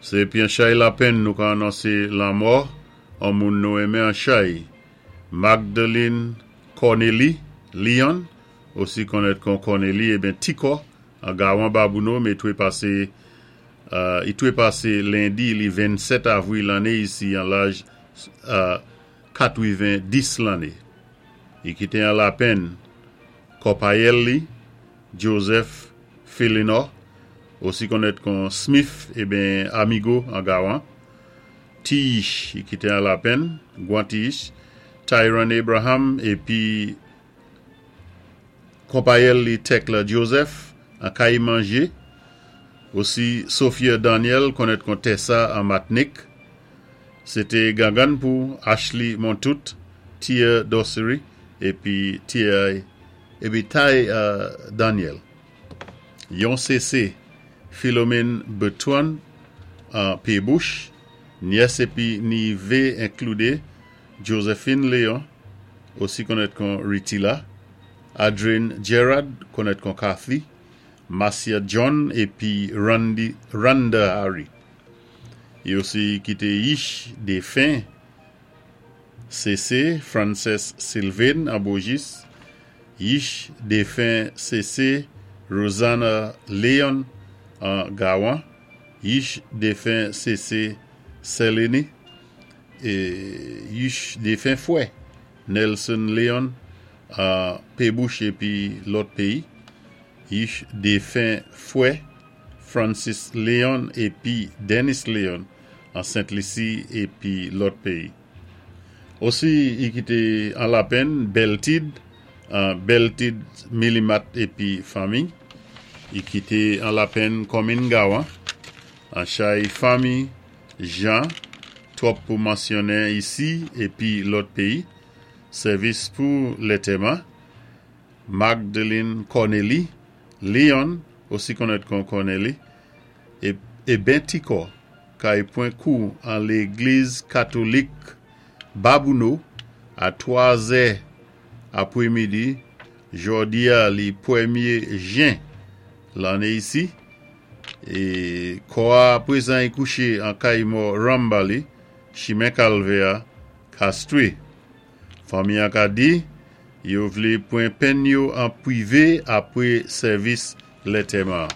Sé pi an chay lapenn nou ka anonsé lanmò an moun nou enmen an chay, Magdeline Cornélie Leon, osi konnèt kon Cornélie eben Tikò, an Gawan Babouno, mé twé pasé i twé pasé lendi li 27 avwil lanné isi an laj 90 lanné. I kité an lapenn kòpayèl li, Joseph Philinor, osi konnèt kon Smith eben Amigo an Gawan, ti yich i kité an lapenn, gwan ti yich, Tyron Abraham épi konpayèl li Tekla Joseph an Kay Manje, osi Sophia Daniel konnèt kon Tessa an Matnik. Sé té gangann pou Ashley Montout, Tia Dossery épi Tia épi Ty Daniel. Yon sésé Philomène Bertrand an Pébouch, nyès épi nivé enkloudé Josephine Léon, osi konnèt kon Ritila, Adrien Gerard, konnèt kon Kathy, Marcia John épi Randy, Randa Harry. I osi kité yich défen Sésé Frances Sylvain an Bojis, yich défen Sésé Rosanna Leon an Gawan, yich défen Sésé Selene, é yich défen fwè Nelson Leon an Pébouch épi lòt péyi, yich défen fwè Francis Leon épi Dennis Leon an Sent Lisi épi lòt péyi. Osi i kité an lapenn Beltid an Beltid Milimat épi fanmi. I kité an lapenn konminn Gawan an chay fanmi Jean, twòp pou mansyonnen isi épi lòt péyi. Sèvis pou lantèman, Magdeline Cornélie Leon, osi konnèt kon Cornélie, eben Tikò, kay pwan kou an légliz katolik Babouno a 3 zè apwémidi jòdi-a li pwémyé jen lanné isi é kò-a pwézan i kouché an kay mò Rambali, chimen Kalvè-a, Castries. Fanmi-an ka di yo vlé pwan penn yo an pwivé apwé sèvis lantèman.